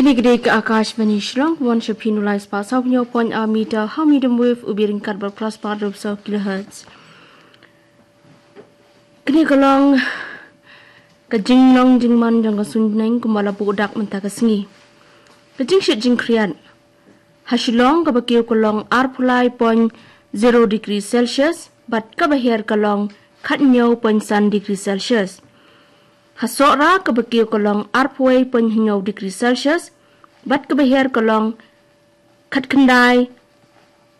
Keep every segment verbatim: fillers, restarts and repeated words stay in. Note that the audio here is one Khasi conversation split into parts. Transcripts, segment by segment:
Kane ka dei ka Akashvani Shillong, one shaphin ulai spah saw hynñiew point ar meter ha medium wave u biring kat bad phra spah dub saw kilohertz. Kane ka long ka jinglong jingman jong ka suiñ bneng kumba la buh dak mynta ka sngi. Ka jingshit jingkhriat ha Shillong kaba kiew ka long arphew lai point zero degree Celsius bad kaba hiar ka long khathynñiew point san degree Celsius. Ha Sohra kaba kiew ka long arphew wei point hynñiew degree Celsius bad kaba hiar ka long khatkhyndai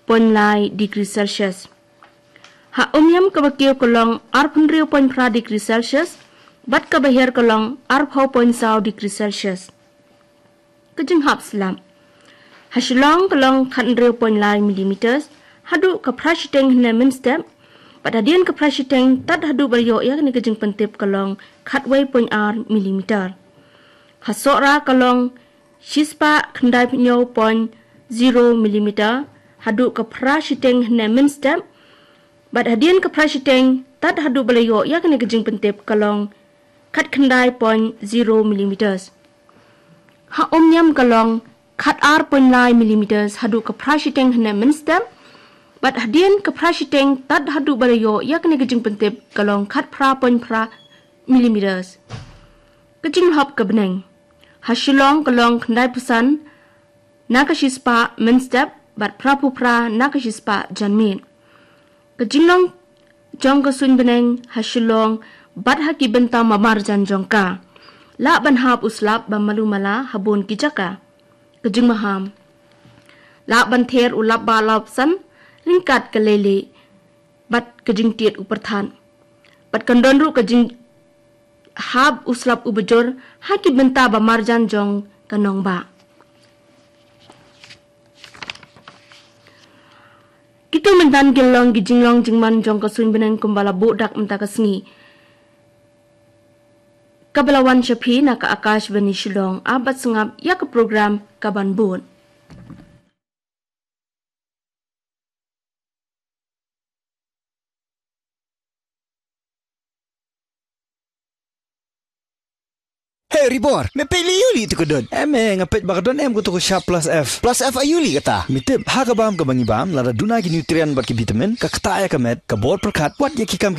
point lai degree Celsius. Ha Umiam kaba kiew ka long arphew hynriew point phra degree Celsius bad kaba hiar ka long arphew point saw degree Celsius. Ka jinghap slap ha Shillong ka long khathynriew point lai millimeters haduh ka phra shiteng hynne mynstep bad hadien ka phra shiteng tad haduh ba la ïoh ïa kane ka jingpyntip ka long khatwei point ar millimeter. Ha Sohra ka long shispah khyndai phew hynñiew point zero millimeter haduh ka phra shiteng hynne mynstep bad hadien ka phra shiteng tad haduh ba la ïoh ïa kane ka jingpyntip ka long khatkhyndai point zero millimeters. Ha Umiam ka long khatar point lai millimeters haduh ka phra shiteng hynne mynstep bad hadien ka phra shiteng tad haduh ba la ïoh ïa kane ka jingpyntip ka long khatphra point phra millimeters. Ka jinglhop ka bneng ha Shillong ka long khyndai phew san na ka shispah mynstep bad phra phew phra na ka shispah janmiet. Ka jinglong jong ka suiñ bneng ha Shillong bad ha ki bynta marjan jong ka. Lah ban hap u slap ba malu mala ha bun ki jaka. Ka jingmaham lah ban ther u lap ba lap san ryngkat ka lele bad ka jingtied u pyrthat bad kan don ruh ka jing hap u slap u bajur ha ki bynta ba marjan jong ka nongbah. Kito mynta ki long ki jinglong jingman jong ka suiñ bneng kumba la buh dak mynta ka sngi. Kaba la wan sha phi na ka Akashvani Shillong, ap bad sngap ïa ka program kaban bud. Hey Ribor, me peit lei ïa u lei tu ka dud. Em eh, nga peit ba ka don em ka tu ka shap plus F. Plus F aïu lei kata? Me tip, ha ka bam kaba ngi bam, lada duna ki nutrient bad ki vitamin, ka ktah ïa ka met, ka bor pyrkhat, wat ïa ki kam ki